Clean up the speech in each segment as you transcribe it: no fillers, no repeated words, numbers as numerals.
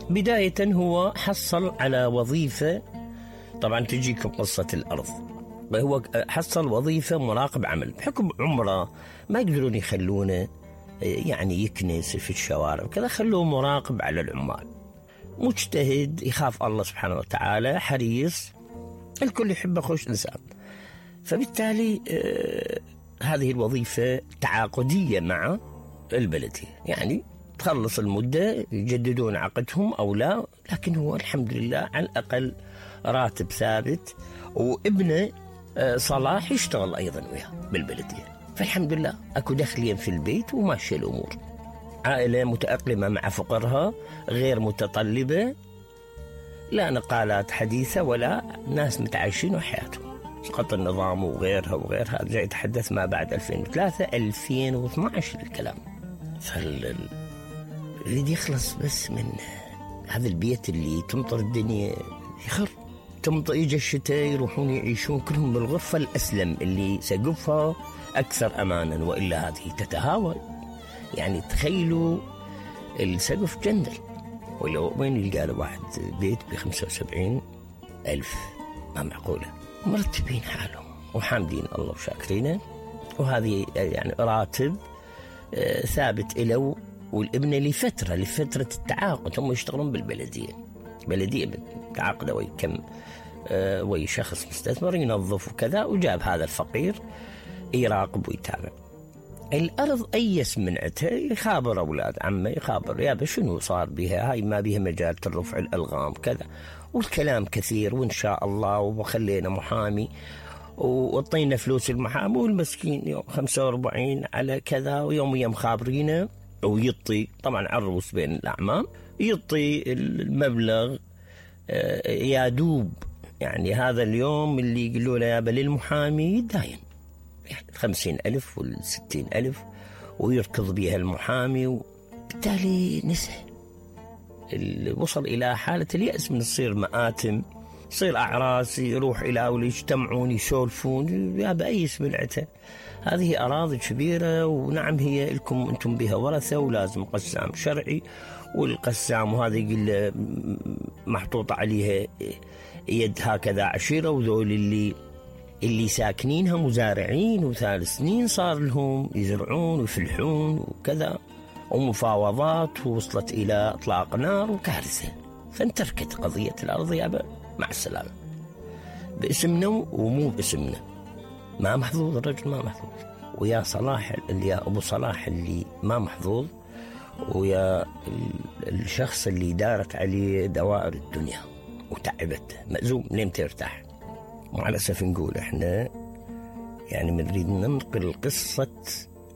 بداية هو حصل على وظيفة، طبعا تجيكم قصة الأرض. هو حصل وظيفة مراقب عمل، بحكم عمره ما يقدرون يخلونه يعني يكنس في الشوارع وكذا، خلوه مراقب على العمال، مجتهد، يخاف الله سبحانه وتعالى، حريص، الكل يحبه، خوش إنسان. فبالتالي هذه الوظيفة تعاقدية مع البلدية، يعني تخلص المدة يجددون عقدهم أو لا، لكن هو الحمد لله على الأقل راتب ثابت، وابنه صلاح يشتغل أيضا وياه بالبلدية، فالحمد لله أكو دخلين في البيت وماشية الأمور. عائلة متأقلمة مع فقرها، غير متطلبة، لا نقالات حديثة ولا ناس متعايشين وحياتهم. سقط النظام وغيرها وغيرها، جاي يتحدث ما بعد 2003 2012 الكلام. يريد يخلص بس من هذا البيت اللي تمطر الدنيا يخر، تمطر يجي الشتاء يروحون يعيشون كلهم بالغرفة الأسلم اللي سقفها أكثر أمانا، وإلا هذه تتهاوى. يعني تخيلوا السقف جندل، ولو وين يلقى له واحد بيت ب75,000؟ ما معقولة. مرتبين حالهم وحامدين الله وشاكرينه، وهذه يعني راتب ثابت إله والابن لفترة التعاقد. هم يشتغلون بالبلدية، بلدية تعاقد وي كم وي شخص مستثمر ينظف وكذا، وجاب هذا الفقير يراقب ويتابع. الأرض أيس منعتها، يخابر أولاد عمه، يخابر يا شنو صار بها، هاي ما بها مجال الرفع الألغام كذا، والكلام كثير، وإن شاء الله، وخلينا محامي وطينا فلوس المحامي، والمسكين يوم 45 على كذا، ويوم خابرينه، ويطي طبعا عروس بين الأعمام، يطي المبلغ يا دوب. يعني هذا اليوم اللي يقولوا له يابا للمحامي يداين يعني 50,000 وال60,000، ويركض بها المحامي، وبالتالي نسى. وصل إلى حالة اليأس من تصير مآتم، تصير أعراس، يروح إلى ويجتمعون يسولفون، يا بأي سمعته. هذه أراضي كبيرة، ونعم هي لكم أنتم بها ورثة، ولازم قسام شرعي، والقسام وهذا يقول محطوط عليها يد هكذا عشيرة، وذول اللي ساكنينها مزارعين، وثالث سنين صار لهم يزرعون ويفلحون وكذا، ومفاوضات، ووصلت إلى إطلاق نار وكارثة. فانتركت قضية الأرض يابا مع السلامة، باسمنا ومو باسمنا، ما محظوظ الرجل، ما محظوظ. ويا صلاح اللي يا أبو صلاح اللي ما محظوظ، ويا الشخص اللي دارت عليه دوائر الدنيا وتعبت، مأزوم لين ترتاح. وعلى أسف نقول إحنا يعني نريد ننقل قصة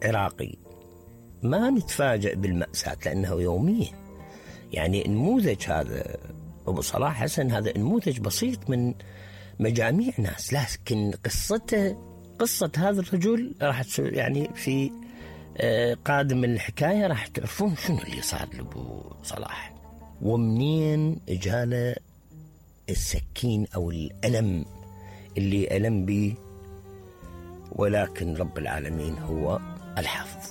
عراقي، ما نتفاجأ بالمأساة لأنه يومية. يعني نموذج هذا أبو صلاح حسن، هذا نموذج بسيط من مجاميع ناس، لكن قصة هذا الرجل راح يعني في قادم الحكاية راح تعرفون شنو اللي صار لأبو صلاح، ومنين جاله السكين أو الألم اللي ألم به، ولكن رب العالمين هو الحافظ.